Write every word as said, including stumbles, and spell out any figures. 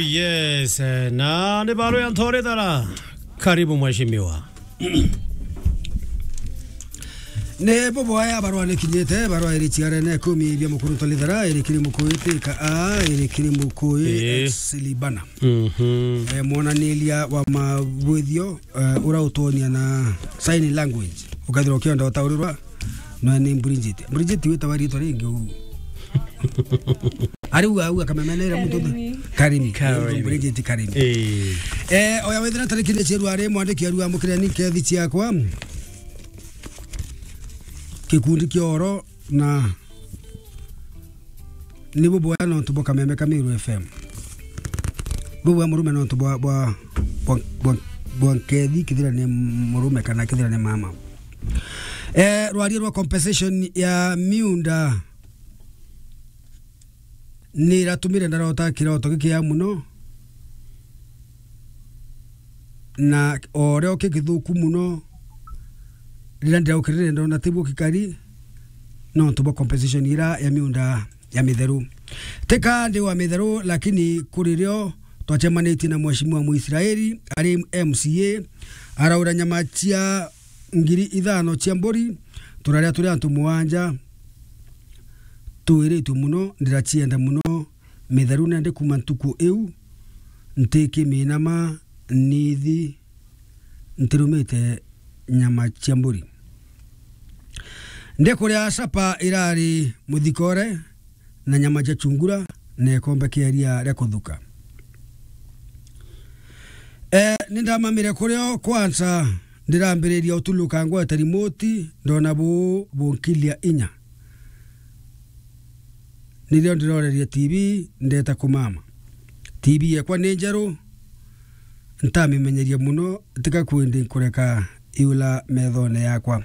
Yes, eh, na ni barua ya Ntorithara. Karibu mheshimiwa. Ni bubu aya barua ni kinyite, barua iri ciarene kumi bia mukuru Ntorithara, iri kiri mukui Tika A, iri kiri mukui Ii. Silibana. Mhm. Eh, mwonaniria wa mabwithio, eh, urautonia na sign language. Ukethirwa ukionda utaurirwa, no ni Bridget. Bridget witawa ritwa ringi u. Ari u au akamemena ira muntu. Karimi. Karimi. Karimi. Bridget Karimi. Eh. Eh, oya withira tariki ni ciru ari mwandiki aru amukire ni kethi ciakwa. Kikundi kia oro na ni bubu aya nontu bwa kameme ka Meru F M. Bubu aya murume nontu bwa, bwa, bwa, bwa, bwa nkethi kithira ni murume kana kithira ni mama. Eh, rwaria rwa compensation ya miunda ni iratumire ndarota kiroto gikia muno, na orio kigithuku muno. Riria ndiraukirire ndona tiguo gikari, nontu bwa compensation ira ya miunda ya mitheru. Tika ndi wa mitheru, lakini kuri rio twacemanitie na mheshimiwa Muisraeli ari M C A, araura nyama cia ngiri ithano cia mburi, turaria turi antu muanja, twiritwe muno, ndiracienda muno, mitheru nende kuma ntuku iu, ntikiminama nithi ntirumite nyama cia mburi. Ndikuria sapa irari muthikore na nyama cia chungura na ikombe kia iria ria kuthuka. Eh, nindamamire kurio kwanza, ndirambiriria utuluka ngwete remote, ndona bu bunkilia inya. Nirio ndiroreria T V, ndeta kumama. T V yekwa ni njeru, ntamimenyeria muno, tika kwindi nkureka iula methone yakwa.